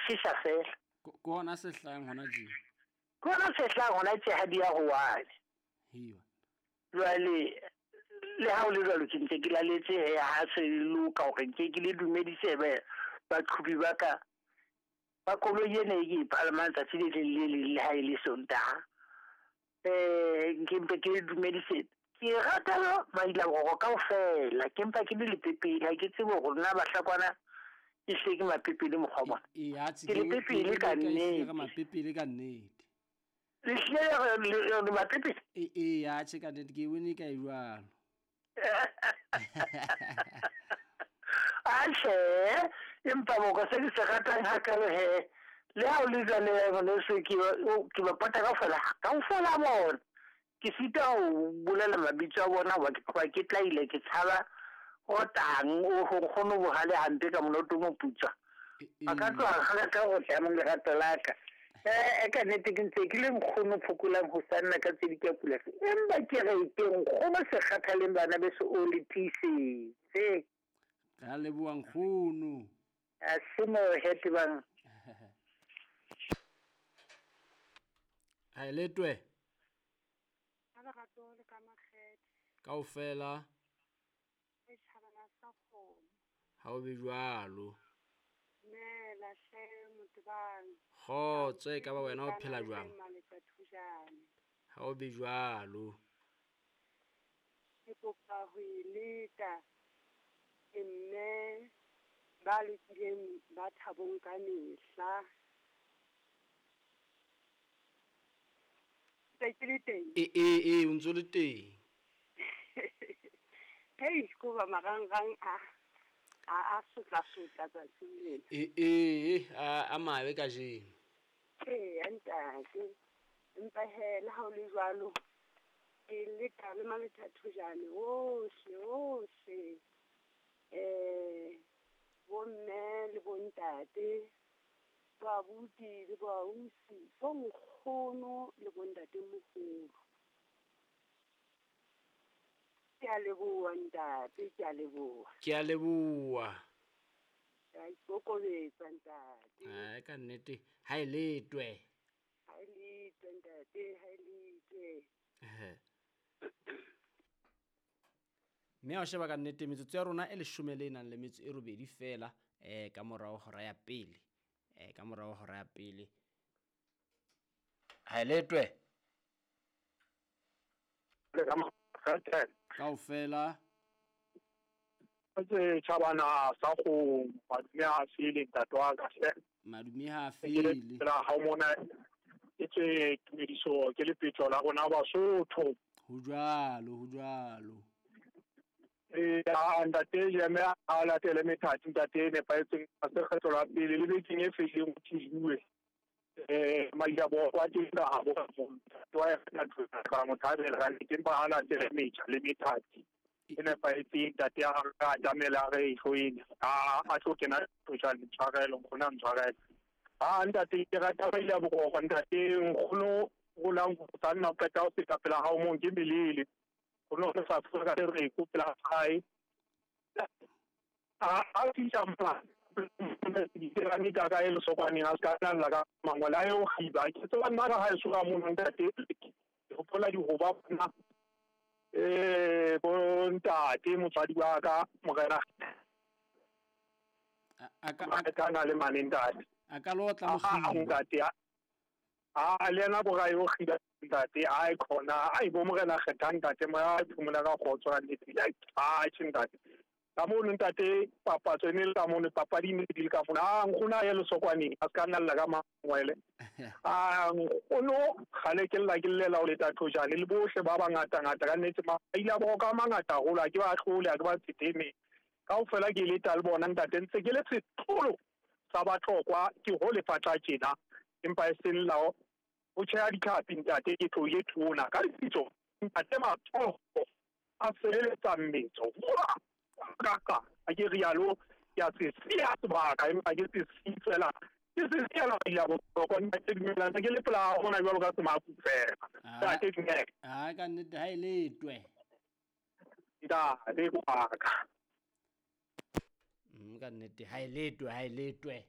sesa fela. Ke hona se hlahang hona tje. Ke hona se hlahang hona tje ha di ya ho wane. Hiwa. Jwale le ha o le jwalo ke ntse ke laletse he ha se loka hore nke ke le dumedise baqhubi ba ka ba koloi ena e ke e palamang tsatsi le leng le leng le ha e le Sontaha. Nke mpe ke le dumedise. Ke rata Mailaboroko kaofela, ke mpa ke le lepepele, ha ke tsebe hore nna Bahlakwana e hle ke mapepele mokgwa bona. Ke lepepele ka nnete. Mapepele ka nnete. Le hlile le mapepele? Ee, atjhe ka nnete ke bone ka e jwalo. Atjhe, empa boko se ke se ratang hakalo he. Le ha o le jwale ngwaneso ke ba pata kaofela, kaofela bona. Ke sita ho bolela mabitso a bona hoba ke tloha ke tlaile ke tshaba o tang o nkgono bohale hampe ka mona o tlo moputswa. A ka tloha rata ho tla mong lerato la ka. Ka nnete ke ntse ke le nkgono phokolang ho sanna ka tse di ka pula. Empa ke re ke nkgono se kgathaleng bana beso o le tiisetse. Ra leboha nkgono. A se mo hete bang. Ha e letwe. Ka lerato le ka makgethe. Kaofela. E tjhabana sa kgomo. Ha o be jwalo. Dumela hle Motebang. Kgotso e ka ba wena o phela jwang? Ha o be jwalo. Ke kopa ho e leka. Ke mme ba lokileng ba thabong ka mehla. Ntse ke le teng? Ee, o ntso le teng. Hei, ko ba marangrang a sotla-sotla tsatsing lena. Ee, a mabe kajeno. Ee, ntate. Empa he, le ha o le jwalo, ke leka le Malethathojane ohle ohle. Bomme le bontate, boabuti le boausi, bonkgono le bontatemoholo. Ke a leboha ntate, ke a leboha. Ke a leboha. Ke a ikokobetsa ntate. Ai ka nnete, ha e letwe. Ha e letwe ntate, ha e letwe. Mme ha o sheba ka nnete metsotso ya rona e leshome le nang le metso e robedi fela ka morao hora ya pele. Ka morao hora ya pele. Ha e letwe. Kaofela. Tse tjhabana sa go madume ha fele ntate wa ka hle. Madume ha fele. Phela ha mona e tse tumediso ke lepetjo la rona Basotho. Ho jwalo, ho jwalo. Ntate Jeme a latele methati ntate e nepahetseng a se kgetho la pele le bekeng e fetileng ho thijuwe. Mailaboroko a teng ka habo wa ka mothabela ka nnete empa ha latele metjha le methati e nepahetseng ntate a re atamela re e tlohele a tlo kena tjhane tshwarelo nkgono a ntshwarele. A ntate ke rata Mailaboroko ntate nkgono rolang ho sanna o qeta ho feta pela hao mong ke melele. Ho no re sa ka re ko pela hae. A fihla mona ditirane ka ka e lesokwaneng a se ka nna ka mangwele a eo kgiba. Ke tseba nna ka haeso ka mono ntate ke hopola dihoba bona bo ntate motswadi wa ka morena a ka na le mane ntate. A ka lotla mokgiba. Ntate a le yena bora eo kgiba ntate a e khona a bo morena kgetha ntate moya a phomola ka kgotso ka nnete. A tjhe ntate. Ka mono ntate papatso e ne le ka mono papadi ne di le ka mono. A nkgono a ye lesokwaneng a se ka nna ka mangwele. A nkgono kgale ke lla ke llela ho leta thojane le bohle ba bangata ngata ka nnete a ile a boka a mangata haholo ha ke ba hlole ha ke ba tshetheme. Kaofela ke leta le bona ntate ntse ke le setlolo sa Batlokwa ke ho lefatla tjena empa e seng la ho tjheha ditlhapi ntate ke tlohile thona ka lebitso ntate matsoho a sebeletsa mmetso. Kaka a ke rialo ke a se siya sebaka empa ke se siye fela ke se siya la bohlokwa ntate dumela ke le pela hona jwalo ka semaku fela ntate dumela. Ha ka nnete ha e letwe ntate wa ka. Ka nnete ha e letwe ha e letwe.